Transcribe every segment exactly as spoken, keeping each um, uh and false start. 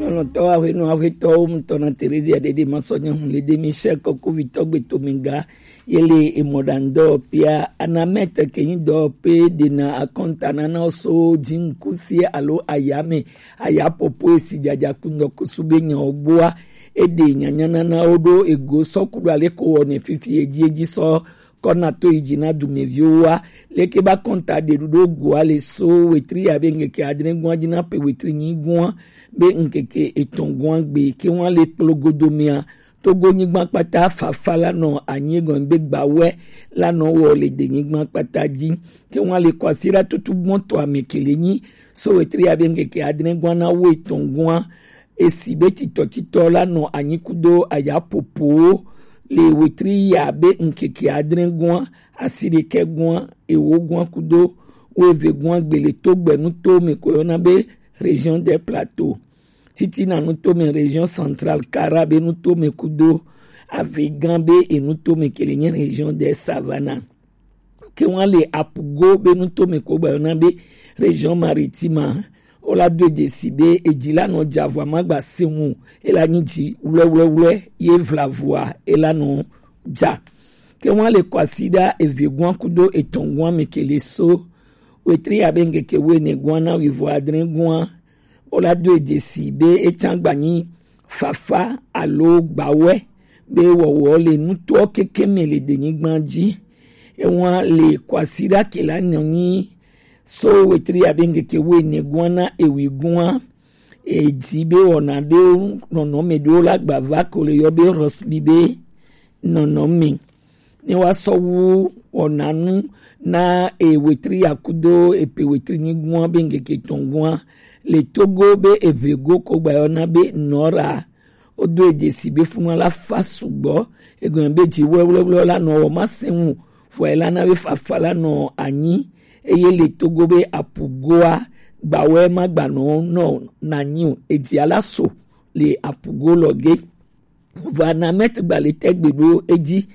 Lɔlɔ̃tɔ ahwenɔ ahwetɔwo ŋutɔ na Terezia ɖeɖe masɔ nyɔnu le de Michel kɔkuvitɔ gbetomega yele emɔɖaŋdɔ pia anamɛtɛ kenyi dɔ pe ɖena akɔnta nana so dziŋkusi alo ayame ayapopo esi jaja kundɔ kusu be nyawo gbɔa eɖe nyanyananawo ɖo ego sɔku ɖo aleko wɔ ne fifi edzi edzi sɔ kɔna to yi dzi na dumeviwo wa. Leke ba kɔnta ɖeɖuɖo goa le so wetri ya be ŋkeke adre gua dzi na pe wetri nyi gua be ŋkeke etɔn gua gbe ke wa le kplogodomea Togo nyigba kpata fafa la nɔ anyi gɔn be gbawɛ la nɔ wɔ le de nyigba kpata dzi ke wa le kɔasi la tutu gbɔn tɔ ame kele nyi so wetri ya be ŋkeke adre gua na wo etɔn gua esi be titɔtitɔ la nɔ anyi kudo ayapopowo le wetri ya be ŋkeke adre gua, asi ɖekɛ gua, ewo gua kudo wo eve gua gbe le togbɛnu to me ko yɔna be Région des Plateaux. Titina nutome Région Centrale, Kara be nutome kudo Avignon be enutome ke le nye Région des Savanas. Ke wa le Apugo be nutome ko gba yɔna be Région Maritime. Wo la do edze si be edzi la nɔ dza vɔa magba se ŋu, ela nyi dzi wlɛwlɛwlɛ ye vla vɔa ela nɔ dza. Ke wa le kɔasi ɖa eve gua kudo etɔn gua me ke le so wetri ya be ŋkeke wo ene gua na wi vɔ adre gua. Wo la do edze si be etsa gba nyi fafa alo gbawɛ be wɔwɔ le nutoɔ keke me le denyigba dzi. Ewa le kɔasi ɖa ke la nɔ nyi so wetri ya be ŋkeke wo ene gua na ewi gua. Edzi be wɔna ɖewo nɔnɔme ɖewo la gba va ko le yɔ be Rosby be nɔnɔme. Ne wa sɔ wu wɔna nu na e wetri ya kudo epe wetri nyi gua be ŋkeke tɔn gua le Togo be eve go ko gba yɔna be nɔra. Wo do edze si be funu la fa sugbɔ. Egɔme be dzi wlɛwlɛwlɛ la nɔ wɔ ma se ŋu fɔ ela na be fafa la nɔ anyi eye le Togo be Apugoa gbawɛ ma gba nɔ nɔ nanyi o. Edzi ala so le Apugo lɔ ge. Vɔ anamɛt gba le tɛgbe ɖo edzi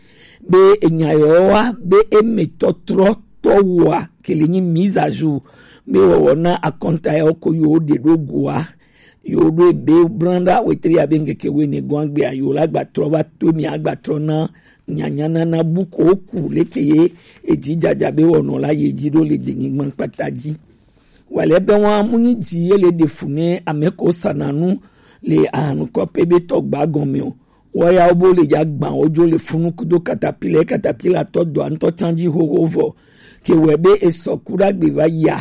be enya yɔ wa be eme tɔtrɔ tɔ wa ke le nyi mise à jour be wɔwɔ na akɔnta yɔ ko yo ɖe ɖo goa yo ɖo ebe branda wetri ya be ŋkeke wo ene gɔn agbea yo la gba trɔ va to mi agba trɔ na nyanyanana bu ko ku leke ye edzi dzadza be wɔnɔ la ye dzi ɖo le denyigba kpata dzi. Wale be wa mu nyi dzi ye le ɖe fu ne ame ko sana nu le ahanukɔ pe be tɔ gba gɔme o. Wɔyawo bo le dza gban wo dzo le funu kudo katapila, katapila tɔ dɔa ŋutɔ tsan dzi xoxo vɔ. Ke wɛ be esɔ ku ɖagbe va yia.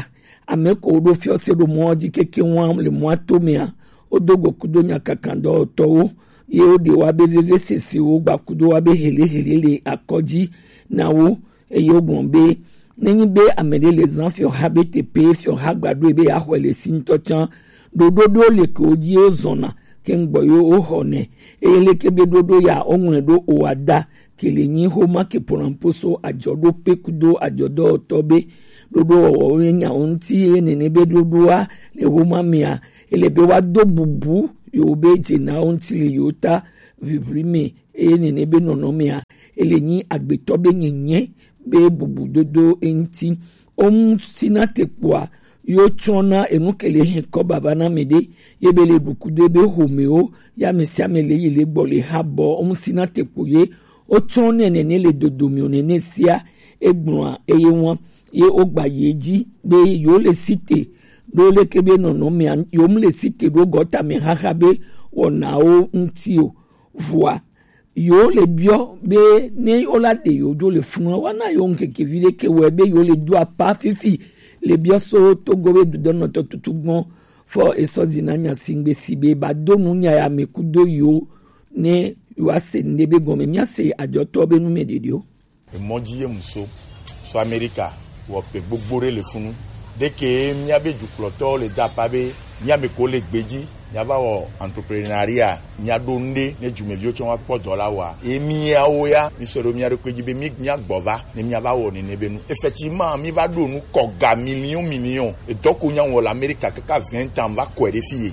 Ame ko ɖo fiɔ se ɖo mɔ dzi keke wa le mɔa to mea. Wo do go kudo nya kankan dɔwɔtɔwo. Ye wo ɖe wa be veve sese wo gba kudo wa be hele hele le akɔ dzi na wo. Eye wogblɔ be, nenye be ame ɖe le zã fiɔha be teƒe fiɔha gba ɖoe be yeaxɔe le si ŋutɔ tsã, ɖoɖo ɖewo le ke wodzi wozɔna ke ŋgbɔ yewo woxɔnɛ. Eye leke be ɖoɖo ya woŋlɔe ɖo oa da ke le nyi xoma ke polamposo adzɔɖoƒe kudo adzɔdɔwɔtɔ be ɖoɖo wɔwɔwo nye nyawo ŋuti eye nene be ɖoɖoa le xoma mea ele be woado bubu yewo be dzenawo ŋuti le yewo ta ʋiʋli me. Eye nene be nɔnɔmea ele nyi agbetɔ be nyenye be bubudodo eŋuti. Womusina tekpoa yo tsɔna enu ke le hɛn kɔ baba na me ɖe ye be le ɖukudo be homewo ya me sia me le yi le gbɔ le ha bɔ womusina tekpo ye wotsɔ ne nene le dodomio nene sia egblɔa eye wa ye wogba ye dzi be yo le site ɖo leke be nɔnɔmea yo mu le site ɖo gɔta me xaxa be wɔnawo ŋuti o. Vɔa yo le biɔ be ne wo la ɖe yo dzo le funu wa na yo ŋkeke vi ɖe ke wɛ be yo le do apa fifi le biɔ so togo be dudɔnɔtɔ tutu gbɔn fɔ esɔ zi na nya si ŋgbe si be ba do nu nya ya me kudo yo ne yo ase ŋɖe be gɔme mia se adzɔtɔ be nu me ɖeɖi o. Emɔ dzi ye mu so so Amerika wɔ pe gbogbo ɖe le funu. Ɖeke míabe dukplɔtɔwo le da apa be míame ko le gbe dzi míava wɔ entrepreneuria míaɖo nu ɖe ne dumeviwo tsɔ wa kpɔ dɔ la wɔa. Ye míawo ya mísɔ ɖo mía ɖokui dzi be mí míagbɔ va ne míava wɔ nene be nu. Effectivement míva ɖo nu kɔ ga million million edɔ ko nya wɔ le Amerika kaka vingt ans va kɔe ɖe fi ye.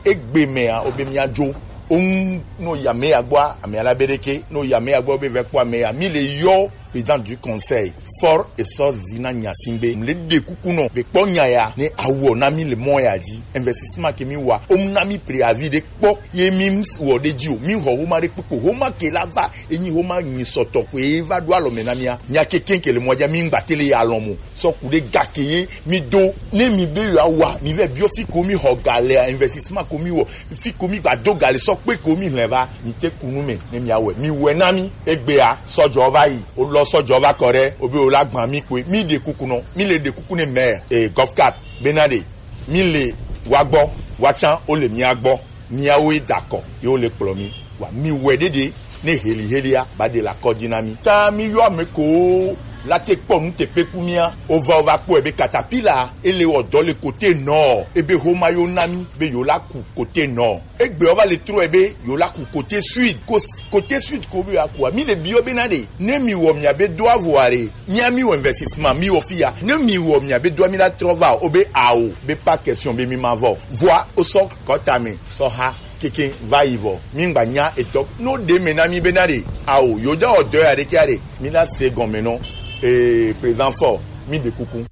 Egbe mea wobe míadzo. Oŋu no yi ame ya gbɔa ame ya la be ɖeke no yi ame ya gbɔ be vɛ kpɔ ame ya mi le yɔ président du conseil, fort et sort zina nyasingbe. Mle de kukunɔ, be kpɔ nya ya, ne awɔ na mi le mɔ ya dzi. Investissement ke mi wa, om na mi préavis de kpɔ, ye mi ms-, wɔ de dzi o. Mi xɔ homa de kpekpe, homa ke la va, enyi homa nyi sɔtɔ ko ye va do alɔ me na mia. Nya ke kenke le mɔ dzi, mi ngba tele ya lɔ mo. Sɔ ku ɖe gake ye mi do. Ne mi be yewoawa, mi vɛ biɔ fi ko mi xɔ ga lea, investissement ko mi wɔ, fi ko mi gba do ga le sɔ kpe ko mi hlɛ va, mi te ku nu me, ne mi awɛ. Mi wɛ na mi, egbea, sɔjɔ va yi, o lɔ sɔjɔ va kɔ ɖe, o be o la gban mi koe, mi ɖe kuku nɔ, mi le ɖe kuku ne mɛ, e, Gulf Cup, bena ɖe, mi le wa gbɔ, wa can, o le mia gbɔ. Miawoe da kɔ, ye wo le kplɔ mi. Wa mi wɛ ɖeɖe, ne heli helia, ba ɖe la kɔdzi na mi. Ta mi yɔ ame ko la te kpɔ nu teƒe ku mia. O va, o va kpɔe be katapila, ele wɔ dɔ le kote nɔ, ebe homa yo na mi, be yo la ku kote nɔ. Egbe o va le trɔe be yo la ku kote sud, ko, kote sud ko be yo akua. Mi le biɔ be na ɖe, ne mi wɔ mia be do avɔ are, mia mi wɔ investissement, mi wɔ fi ya. Ne mi wɔ mia be do mi la trɔ va o, o be ao, be pas question be mi ma vɔ. Vɔa, o sɔ kɔta me. Sɔha keke va yi vɔ, mi ŋgba nya etɔ. No ɖe me na mi be na ɖe, ao, yo ja wɔ dɔ ya ɖe kia ɖe, mi na se gɔme nɔ. Ee, présent fort, mi ɖe kuku.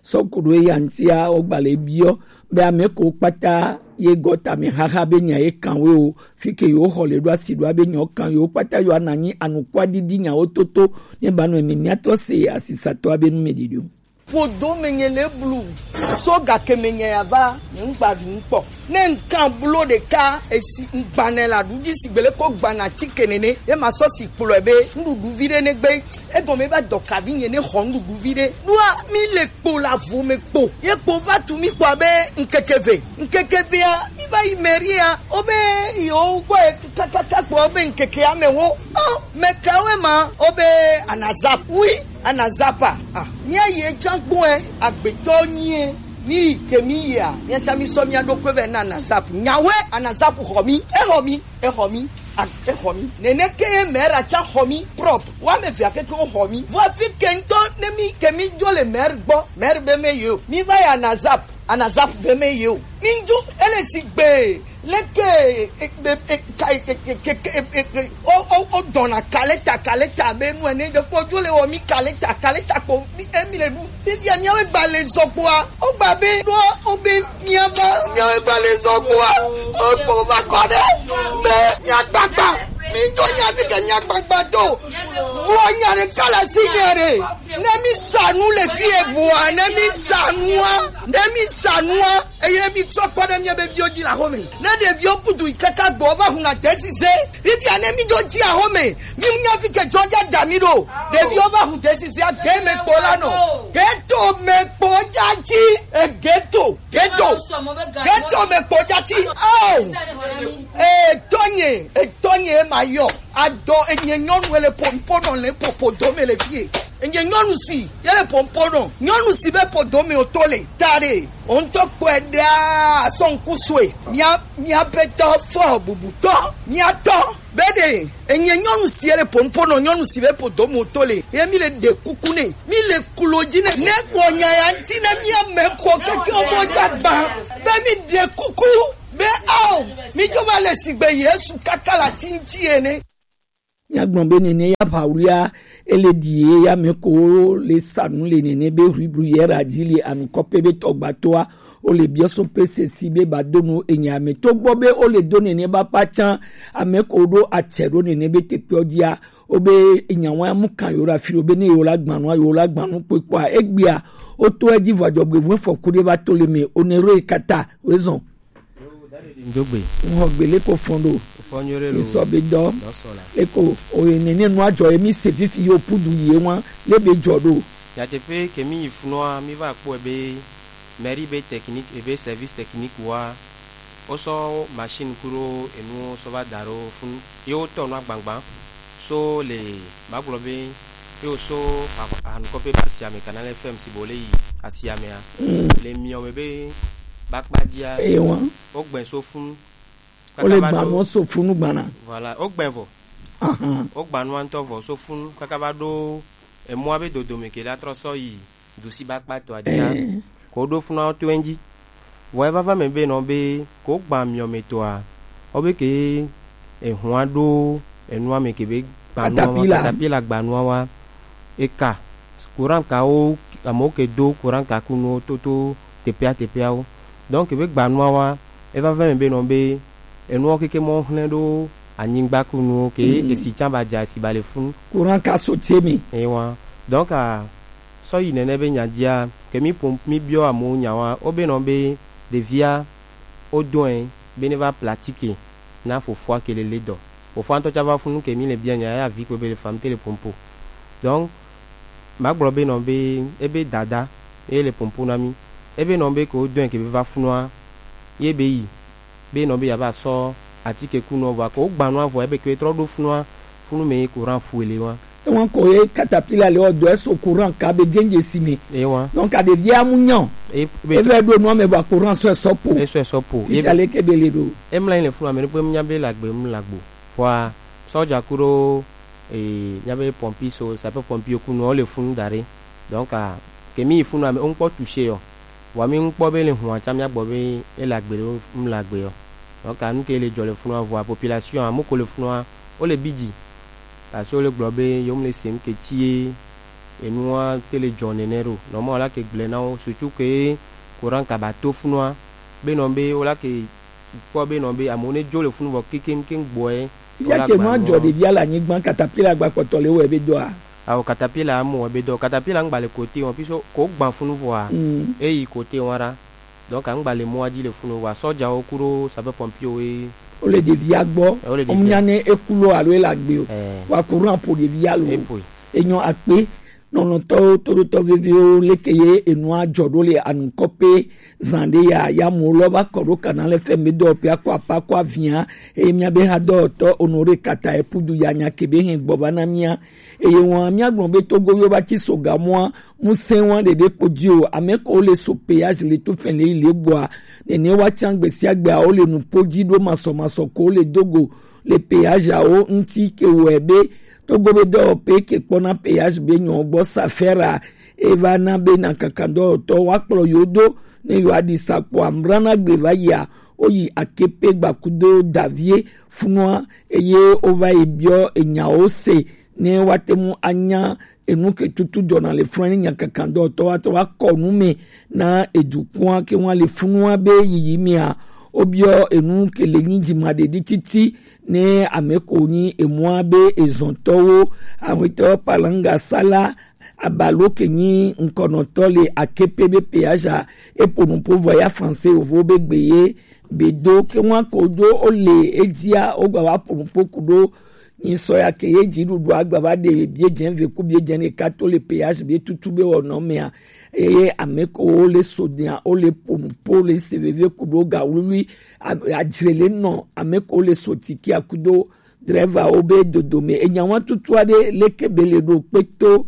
Sɔkuɖo eya ŋutia, wogba le biɔ be ame ko kpata ye gɔta me xaxa be nya ye kan we o, fi ke yo xɔ le ɖo asi ɖo abe nya wo kan yo kpata yo ananyi anukua didi nya wo toto, ne ba nɔ emi miatrɔ se asisatɔ abe nu me ɖiɖi o. Ƒodo menye le blu, so gake menye ya va, nye ŋgba ɖu ŋkpɔ. Ne ŋkan blo ɖeka esi ŋgbanɛ la ɖu dzi sigbe le ko gbana tike nene, ye ma sɔ si kplɔe be nuɖuɖu vi ɖe ne gbe. Egɔme va dɔ kavi nye ne xɔ nuɖuɖu vi ɖe. Ɖoa mi le kpo la vo me kpo. Ye kpo va tu mi kpɔ be ŋkeke ve. Ŋkeke vea, mi va yi mairie a, o be yewo gbɔ kakaka kpɔ be ŋkeke ame wo. O, mekawoe ma, o be anazap. Oui. Anazapa, ah, mía yi etsã gbɔɛ, agbetɔ nyie, mi yi ke mi yia, mía tsã mi sɔ mía ɖokui vɛ na Anazap. Nyawe, Anazap xɔ mi, e xɔ mi, e xɔ mi, ah, e xɔ mi. Nene ke ye mɛra tsã xɔ mi, prop. Wa me via keke wo xɔ mi. Vɔ fi ke ŋutɔ ne mi ke mi dzo le mɛr gbɔ, mɛr be me yo. Mi va yi Anazap, Anazap be me yo. Mi dzo, ele si gbe. Leke, e, e, e, ka, e, e, e, e, e, e, o, o, o dɔna kaleta, kaleta be nu ene de kpɔ dzo le wɔ mi kaleta, kaleta kpo mi, e, mi le ɖu. Fifia miawe gba le zɔ kpoa, o gba be ɖo o be miava miawe gba le zɔ kpoa, o kpo va kɔ ɖe be miagbagba, mi do nya fi ke miagbagba do. Vua nya ɖe kala si nya ɖe. Ne mi sa nu le fie vua, ne mi sa nua, ne mi sa nua. Eye mi trɔ kpɔ ɖe mia be viwo dzi le axome. Ne ɖeviwo kudu yi kaka gbɔ va huna tesize. Fifia ne mi dzo dzi axome. Mi nya fi ke dzɔ dza da mi ɖo. Ɖeviwo va hu tesize a ge me kpo la nɔ. Geto me kpo dza dzi. E geto, geto. Geto me kpo dza dzi. Oh. E tɔnye, e tɔnye ma yɔ. Adɔ enye nyɔnu ele pompo nɔ le popo dome le fie. Enye nyɔnu si, ye le pompo nɔ. Nyɔnu si be podo me o to le. Tare. O ŋutɔ kpɔe ɖaa, sɔ ŋku sue. Mia, mia be tɔ fɔ bubutɔ. Mia tɔ. Be ɖe, enye nyɔnu si ele pompo nɔ, nyɔnu si be podo me o to le. Ye mi le ɖe kuku ne. Mi le kulo dzi ne. Ne gbɔ nya ya ŋuti ne mia me kɔ keke o mo dza gba. Be mi ɖe kuku. Be ao, mi dzo va le sigbe Yesu kaka la tinti ene. Míagblɔ be nene ya ʋawlia ele ɖi ye ya me ko le sa nu le nene be ʋuiɖu ye ra dzi le anukɔpe be tɔgbatoa, o le biɔ so pe sesi be ba do nu enya me to gbɔ be o le do nene ba pa can ame ko ɖo atsɛ ɖo nene be tekpeɔ dzia, o be enya wa mu kan yo ra fi ɖo be ne yo la gbanu, yo la gbanu kpekpea, egbea, o to edzi vɔ adzɔgbe vɔ fɔku ɖe va to le me, o ne ro e kata, o zɔn. Ŋxɔ gbele ko fɔn ɖo. Fɔnyore lo. Isɔ be dɔ. Dɔ sɔ la. Eko oye nene nua dzɔ ye mi se fifi yo pudu ye wa le be dzɔ ɖo. Nyateƒe ke mi yi funɔa, mi va kpɔe be mairie be technique ebe service technique wa, wosɔ machine ku ɖo enuwo sɔ va da ɖo funu. Ye wotɔ nua gbagba. So le magblɔ be ye wo so anukɔƒe be asiame Canal F M si be wo le yi asiamea. Mm. Le miɔ me be bakpa dzia. Eye wa. Wo gbɛ so funu. Wo le gba mɔ so funu gbana. Voilà, wo gbɛ vɔ. Ahan. Wo gba nua ŋutɔ vɔ so funu kaka va ɖo emɔa be dodome ke la trɔ sɔ yi. Dusi ba kpa to adia. Eh. Ko ɖo funa to enji. Vɔ eva va me be nɔ be ko gba miɔ me toa. O be ke ehua ɖo enua me ke be gba nua wa, katapila. Katapila gba nua wa. eka, courant kawo, amewo ke do courant kakunuwo toto teƒea teƒeawo. Donc be gbanua wa, eva vɛ me be nɔ be enuwo keke mɔ hlẽ ɖo anyigba kunuwo ke esi tsã ba dza esi ba le funu. Courant ka so tie mi. Ewa. Donc a sɔ yi nene be nya dzia, ke mi pom mi biɔ amewo nya wa, wo be nɔ be ɖevia wo dɔe be ne va platike na fofoa ke le le dɔ. Fofoa ŋutɔ tsa va funu ke mi le bia nya ya vi kpe be le fam te le pompo. Donc ma gblɔ be nɔ be ebe dada ye le pompo na mi. Ebe nɔ be ke wo dɔe ke be va funua ye be yi be nɔ be ya va sɔ atike kunua vɔ ko gbanua vɔ ebe ke trɔ ɖo funua funu me courant fuele wa. Ewan ko ye katapila le ɔdɔ eso courant ka be genge si me. Ewan. Donc a devia mu nyan. E be ebe do no me ba courant so eso po. Eso eso po. Ebe ale ke be le do. Emla le funua me ne pe mu nya be lagbe mu lagbo. Vɔa sɔdza ku ɖo e, míabe pɔmpi so sapeur pɔmpi kunɔ wo le funu da ɖe. Donc a ke mi yi funua me wo ŋkpɔ touché yɔ. Vɔa mi ŋkpɔ be le hua tsã míagbɔ be ele agbe ɖo mu le agbe yɔ. Donc a nu ke le dzɔ le funua vɔa population a moko le funua wo le bidzi. Parce que wo le gblɔ be yewo mu le se nu ke tie enua te le dzɔ nene ɖo. Nɔmɔ la ke gblẽ na wo sutu ke courant ka ba to funua be nɔ be wo la ke kpɔ be nɔ be amewo ne dzo le funu vɔ kekeŋkeŋ gbɔe. Fifia ke nua dzɔ ɖevia le anyigba katapila gba kpɔtɔ le wɔe be dɔa. Awo katapila amu wɔe be dɔ katapila ŋgba le kote wɔn piso ko gba funu vɔa. Mm. Eyi kote wɔn ra. Donc ŋgba le mɔa dzi le funu vɔa sɔdzawo ku ɖo sapeur pompier wo ye. Wo le ɖevia gbɔ. Eh, wo le ɖevia. Ɔmu nya ne eku lo alo ele agbe o. Eh. Wa courant po ɖevia lo. Epoe. Enyɔ akpe. Nɔnɔtɔwo toɖotɔ veviwo leke ye enua dzɔ ɖo le anukɔpe zan ɖe ya yamuwo lɔ va kɔ ɖo kana le fɛn be dɔwɔƒea kɔ apa kɔ avia eye mía be ha dɔwɔtɔ Honoré Kata Epudu ya nya ke be hɛn gbɔ va na mía eye wɔn mía gblɔ be Togo yo va tsi so gamɔa musɛ wɔn ɖeɖe kpo dzi o ame ko le so péage le to fɛn le yi le gbɔa nene wa tsan gbesiagbe awo le nupo dzi ɖo masɔmasɔ ko le dogo le péage awo ŋuti ke wɔe be Togo be dɔwɔƒe ke kpɔna péage be nyɔ gbɔ safera eva na be na kaka dɔwɔtɔ wa kplɔ yo do ne yo adi sakpo amrana gbe va yia wo yi akepe gbakudo davie funua eye wo va yi biɔ enyawo se ne wa te mu anya enu ke tutu dzɔna le funua ne nya kaka dɔwɔtɔ wa te wa kɔ nu me na edukua ke wa le funua be yiyi mea wo biɔ enu ke le nyi dzima ɖeɖi titi ne ame ko nyi emua be ezɔntɔwo ahwetɔ palanga sala abalo ke nyi ŋkɔnɔtɔ le akepe be peaza epo nupo vɔ ya français yovo be gbe ye be do ke ŋua ko do o le edzia o gba wa po nupo ku do nyi sɔ ya ke ye dzi ɖuɖu agba va de bie dze ve ku bie dze ne ka to le peaza be tutu be wɔ nɔ mea eye ame ko wo le so dia wo le po nupo le se veve ku do ga wluwlui adzre le nɔ ame ko le so tiki akudo driver wo be dodome enya wa tutu aɖe leke be le ɖo kpeto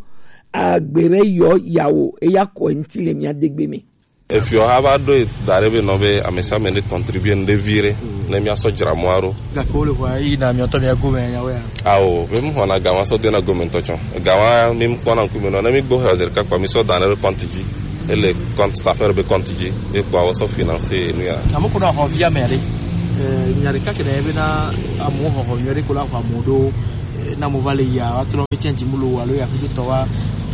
agbe ɖe yɔ yawo eya kɔ ŋti le mia degbe me. Efiɔ ha va ɖo da ɖe be nɔ be amesiame ne contribue nu ɖe vi ɖe ne mia sɔ dzra mɔa ɖo. Gake wo le ʋua yi na miɔtɔ mia gome nyawo ya. Awo be mu xɔna gawa sɔ dena gome ŋtɔ tsɔ gawa mi kpɔna ŋkume nɔ ne mi gbɔ xɔ zerika kpa mi sɔ da ne ɖe compte dzi. Ele compte safere be compte dzi ye kpɔ awɔ sɔ financer nu ya. Ame ko na xɔ via me aɖe. Eh, nya ɖeka ke ɖe be na amewo xɔxɔ nyuie ɖe ko la xɔ amewo ɖo eh, na mo va le ya wa trɔ mi tiɛn dzimu lo alo ya kudo tɔ wa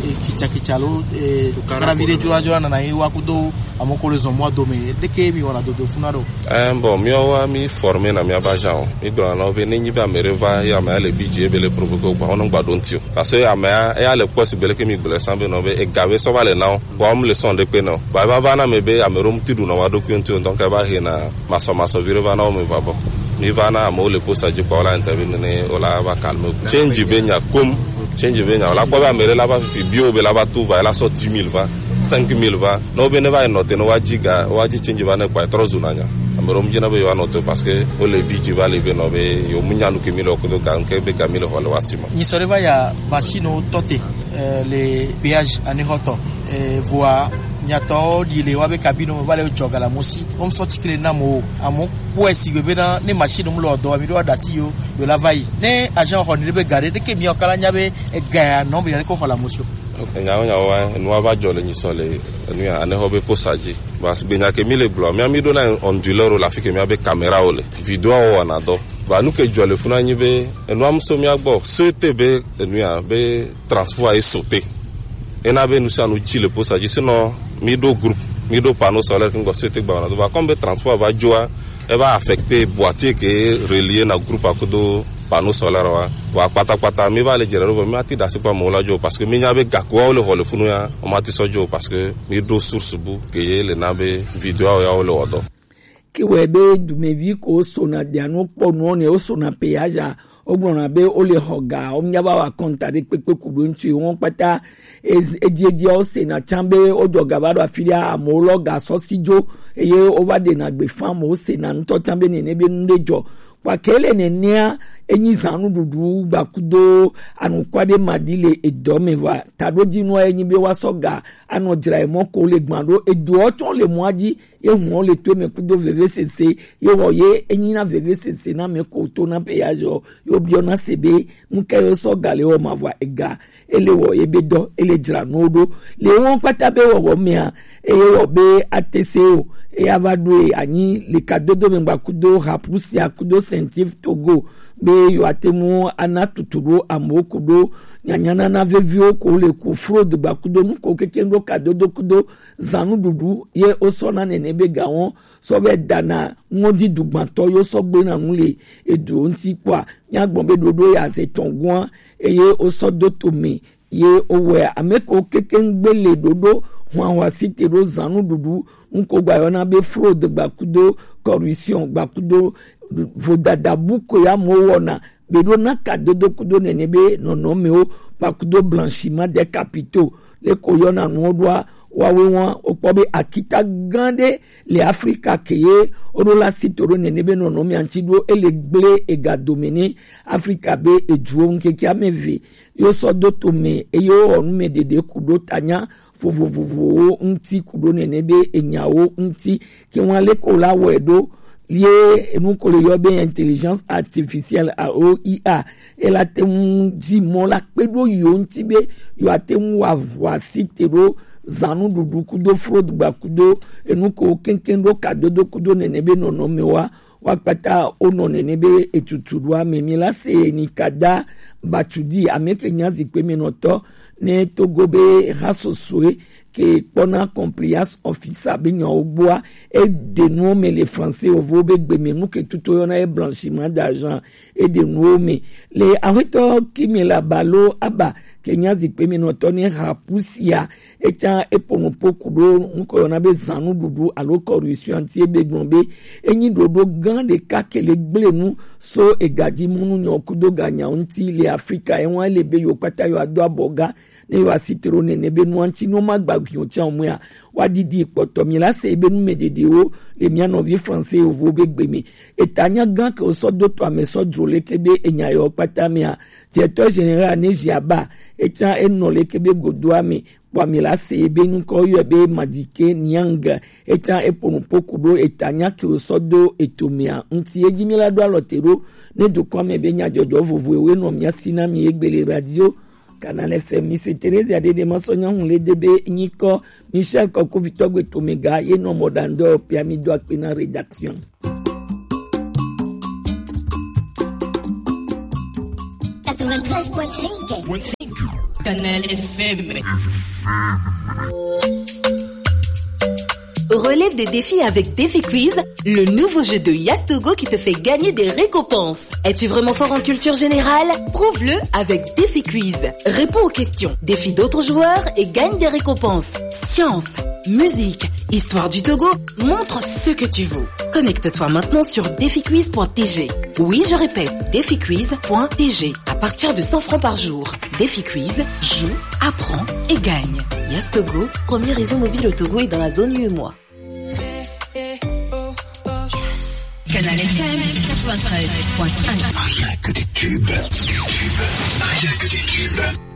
eh, kitsa kitsa lo eh, karavi ɖe dzora dzora nana yi wa kudo ame ko le zɔn mɔ dome ɖeke mi wɔna dodo funa ɖo. Ɛn bɔn miawo wa mi forme na mia ba jan o mi gblɔ na wo be ne nyi be ame ɖe va ye ame ya le bi dzi ebe le provoke o gba wo nɔ gba ɖo ŋti o parce que ame ya eya le kpɔ si be leke mi gblɔ san be nɔ be ega be sɔ va le na wo. Vɔa mu le sɔn ɖe kpe nɔ. Vɔa eva va na me be ame ɖewo ŋuti ɖu nɔ wa ɖokui ŋuti o ŋutɔ ŋka eva he na masɔmasɔ vi ɖe va na wo me va bɔ. Mi va na amewo le posa dzi kpa wo la interview nene wo la va calme. Change be nya kom. Change be nya wo la kpɔ be ame ɖe la va fifi bio be la va to va la sɔ dix mille va, cinq mille va. Ne wo be ne va yi nɔ te ne wa dzi ga wa dzi change va ne kpa trɔ zu na nya. Ame ɖewo mu dzi na be yewo anɔ te parce que wo le bi dzi va le be nɔ be yewo mu nya nu ke mi le wo kodo ga ŋke be ga mi le xɔ le wa si ma. Nyi sɔ ɖe va ya machine wo tɔ te. Eh, le péage anexɔtɔ eh, vɔa nyatɔ ɖi le wa be kabine me va le dzɔ gala mo si wo sɔ tsikle na mo amo kpɔe si gbe bena ne machine mu le dɔ mi ɖo aɖasi yo yo la va yi ne agent xɔ ni ɖe be ga ɖe ɖeke mi ɔkala nya be ega ya nɔ be ya ɖe ko xɔ la mo si o. Nyawo nyawo wa nua va dzɔ le nyisɔ le nu ya anexɔ be posa dzi. Parce que gbenya ke mi le gblɔ mia mi ɖo na onduleur le afi ke mia be caméra wo le vidéo wo wɔna dɔ. Vɔ nu ke dzɔ le funu anyi be enua mu so mía gbɔ, sete be enu ya be transport ye sote. Ena be nu sia nu dzi le posa dzi, sinon mí ɖo groupe, mí ɖo panneau solaire ŋgɔ sete gba na do. Va comme be transport va dzoa, e va affecter boîtier ke relier na groupe akudo panneau solaire wa. Vɔ kpatakpata mí va le dzra ɖo be mí ati ɖasi kpa mo la dzo, parce que mí nya be gakua wo le xɔ le funu ya, o ma ti sɔ dzo, parce que mí ɖo source bu ke ye le na be vidéo ya wo le wɔ dɔ. Ke wɔe be dumevi ko sona dianu kpɔ nuɔ ne wosona péage a, wogblɔna be wole xɔ ga, womenya va wa kɔnta ɖe kpekpe ku ɖo ŋuti wo kpata. Edziedziawo sena tsã be wodzɔ ga va ɖo afi ɖe, amewo lɔ ga sɔ si dzo eye wova ɖena gbe fã, amewo sena ŋutɔ tsã be nene be nu ɖe dzɔ. Kpake le nenea, enyi zã nuɖuɖu gbakudo anukwa ɖe maɖi le edɔ me va. Taɖodzinua enyi be woasɔ ga anɔ dzra emɔ ko le gbã ɖo edoɔ tsɔ le mɔa dzi, ye hɔn le to me kudo vevesese, ye wɔ ye enyi na vevesese na me ko to na péage, yo biɔ na se be nu ka yo sɔ ga le wɔ ma vɔ ega, ele wɔ ye be dɔ, ele dzra no ɖo. Le wɔn kpata be wɔwɔ mea, eye wɔ be atese o, eya va ɖo e anyi le kadodo me gba kudo Haprusia kudo Sentif Togo, be yo ate ŋu ana tutu ɖo amewo kudo nyanyanana veviwo ko le ku fraude gba kudo nu ko keke ɖo kadodo kudo zã nuɖuɖu ye wosɔ na nene be ga wɔn sɔ vɛ dana ŋɔdzi dugbãtɔ yo sɔ gbe na nu le edu ŋuti kpɔa, míagblɔ be ɖoɖo ya ze tɔn gua eye wosɔ do to me ye wowɔe. Ame ko keke ŋgbe le ɖoɖo hwanhwa si te ɖo zã nuɖuɖu ŋko gba yɔna be fraude gba kudo corruption gba kudo vodada bu ko ya mo wɔna be ɖo na kadodo kudo nene be nɔnɔmewo gba kudo blanchiment des capitaux le ko yɔna nuwo ɖoa, wawe wa wokpɔ be akita gã ɖe le Afrika ke ye woɖo la si to ɖo nene be nɔnɔmea ŋuti ɖo ele gble ega dome ne Afrika be eduwo ŋkeke ame eve yo sɔ do to me eye wowɔ nu me ɖeɖe ku ɖo tanya vovovovowo ŋuti ku ɖo nene be enyawo ŋuti ke wa le ko la wɔe ɖo ye enu ko le yɔ be intelligence artificielle a o I A, ela te ŋu dzi mɔ la kpe ɖo yo ŋuti be yo ate ŋu wa ʋua si te ɖo zã nuɖuɖu kudo fraude gba kudo enu ko keŋkeŋ ɖo kadodo kudo nene be nɔnɔme wa wa kpata wonɔ nene be etutu ɖo ame mi la se ni kada batsudi ame ke nya zikpe me nɔtɔ ne Togo be ha sosoe ke kpɔna compliance officer be nyawo gbɔa, eɖe nuwo me le français ovo be gbe me nu ke tuto yɔna ye blanchiment d'argent, eɖe nuwo me le ahwetɔ Kimela Balo Aba ke nya zikpe me nɔtɔ ne ha pusia, etsã eƒo nu ƒo ku ɖo ŋkɔ yɔna be zã nuɖuɖu alo corruption ŋuti ebe gblɔ be enyi ɖoɖo gã ɖeka ke le gble nu so egadzi munu nyɔ kudo ganyawo ŋuti le Afrika ewa le be yo kpata yo ado abɔ ga ne yo asi tro nene be nua ŋuti no ma gba gbiɔ tsa mɔa wa didi kpɔtɔ mi la se be nu me ɖeɖewo le mia nɔvi français yovo be gbe me eta nya gã ke wo sɔ do to ame sɔ dzro leke be enya yo kpata mea directeur général ne ziaba etsã enɔ leke be godoa me kpɔ mi la se be ŋkɔ yɔ be Madike Niang etsã eƒo nu ƒo ku ɖo eta nya ke wo sɔ do eto mea ŋuti edzi mi la ɖo alɔ te ɖo ne dukɔ me be nyadzɔdzɔ vovovowo nɔ mia si na mi egbe le radio Canal F M. Mi se Teresa Dede ma sɔ nyɔnu le de be nyikɔ Michel Kɔkovitɔ gbe to mega ye nɔ mɔ ɖandɔ pia mi do akpe na rédaction. Quatre-vingt-treize point cinq. Canal F M. Relève des défis avec Défi Quiz, le nouveau jeu de Yastogo qui te fait gagner des récompenses. Es-tu vraiment fort en culture générale ? Prouve-le avec Défi Quiz. Réponds aux questions, défie d'autres joueurs et gagne des récompenses. Science, musique, histoire du Togo, montre ce que tu vaux. Connecte-toi maintenant sur défi quiz point T G. Oui, je répète, défi quiz point T G. À partir de cent francs par jour. Défi Quiz, joue, apprends et gagne. Yastogo, premier réseau mobile au Togo et dans la zone U E M O A. Canal F M quatre-vingt-treize point cinq. Rien que des tubes, des tubes, rien que des tubes.